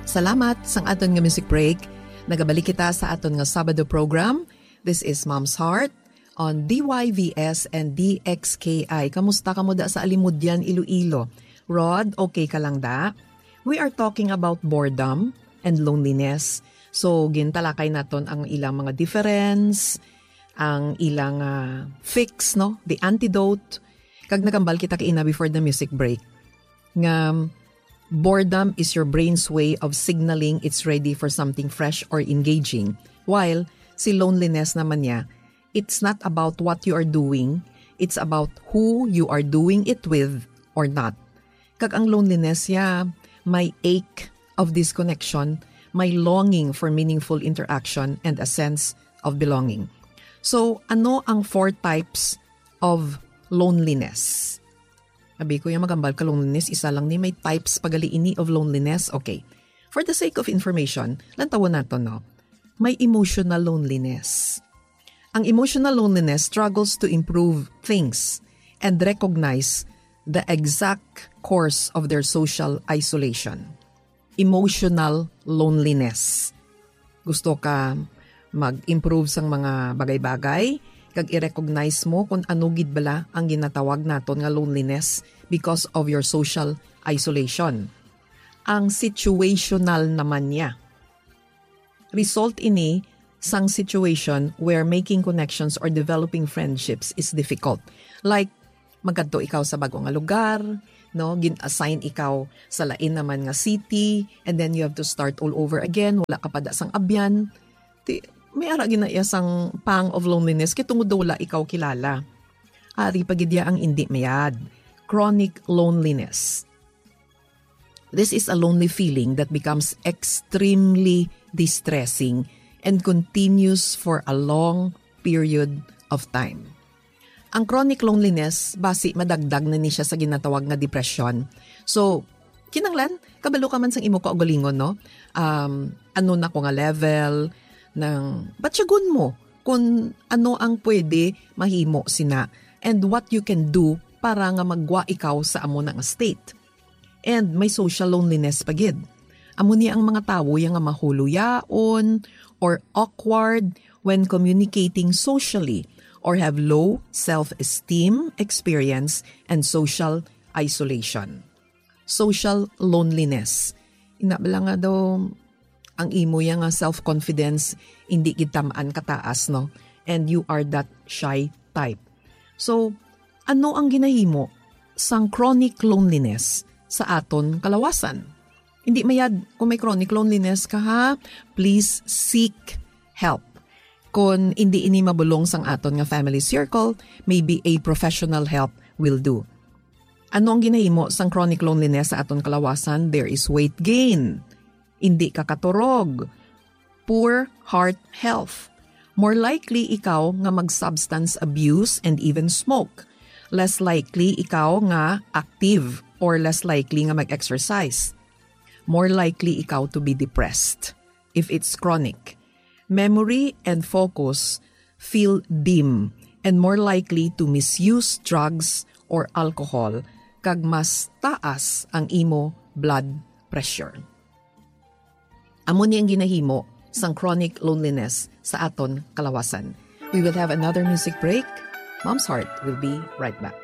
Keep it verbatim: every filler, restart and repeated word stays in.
Salamat sang aton nga music break. Nagabalik kita sa aton nga Sabado program. This is Mom's Heart on D Y V S and D X K I. Kamusta kamo da sa Alimodian, Iloilo? Rod, okay ka lang da? We are talking about boredom and loneliness. So, gintalakay naton ang ilang mga difference, ang ilang ah, fix, no? The antidote. Kag nakambal kita kaina before the music break nga boredom is your brain's way of signaling it's ready for something fresh or engaging. While si loneliness naman niya, it's not about what you are doing, it's about who you are doing it with or not. Kag ang loneliness ya, may ache of disconnection, may longing for meaningful interaction, and a sense of belonging. So, ano ang four types of loneliness? Abi ko, yung magambal ka loneliness, isa lang ni, may types pa gali ini of loneliness. Okay. For the sake of information, lantawon nato, no? May emotional loneliness. Ang emotional loneliness struggles to improve things and recognize the exact cause of their social isolation. Emotional loneliness. Gusto ka mag-improve sang mga bagay-bagay, kag i-recognize mo kung ano gid bala ang ginatawag naton nga loneliness because of your social isolation. Ang situational naman niya. Result ini sang situation where making connections or developing friendships is difficult. Like, magkadto ikaw sa bag-o nga lugar, no? Gin-assign ikaw sa lain naman nga city, and then you have to start all over again. Wala ka pa da sang abyan. Ti, may ara ginaya sang pang of loneliness kay tungod daw wala ikaw kilala. Ari pa gid ya ang indi mayad. Chronic loneliness. This is a lonely feeling that becomes extremely distressing and continues for a long period of time. Ang chronic loneliness, basi madagdag na ni siya sa ginatawag nga depression. So, kinanglan, kabalo ka man sang imo kaugalingon, no? Um, ano na ko nga level, ng, batyagon mo kung ano ang pwede mahimo sina and what you can do para nga magwa ikaw sa amo na nga state. And may social loneliness pa gid. Amo ni ang mga tawo ya nga mahuluyaon or awkward when communicating socially or have low self-esteem, experience, and social isolation. Social loneliness. Ina bala nga daw ang imo ya nga self-confidence hindi gid tamaan kataas, no? And you are that shy type. So, ano ang ginahimo sang chronic loneliness sa aton kalawasan? Hindi mayad kung may chronic loneliness ka, ha, please seek help. Kung hindi ini mabulong sang aton nga family circle, maybe a professional help will do. Ano ang ginahimo sang chronic loneliness sa aton kalawasan? There is weight gain. Hindi ka katurog. Poor heart health. More likely ikaw nga mag-substance abuse and even smoke. Less likely ikaw nga active or less likely nga mag-exercise. More likely ikaw to be depressed if it's chronic. Memory and focus feel dim and more likely to misuse drugs or alcohol, kag mas taas ang imo blood pressure. Amo ni ang ginahimo sang chronic loneliness sa aton kalawasan. We will have another music break. Mom's Heart will be right back.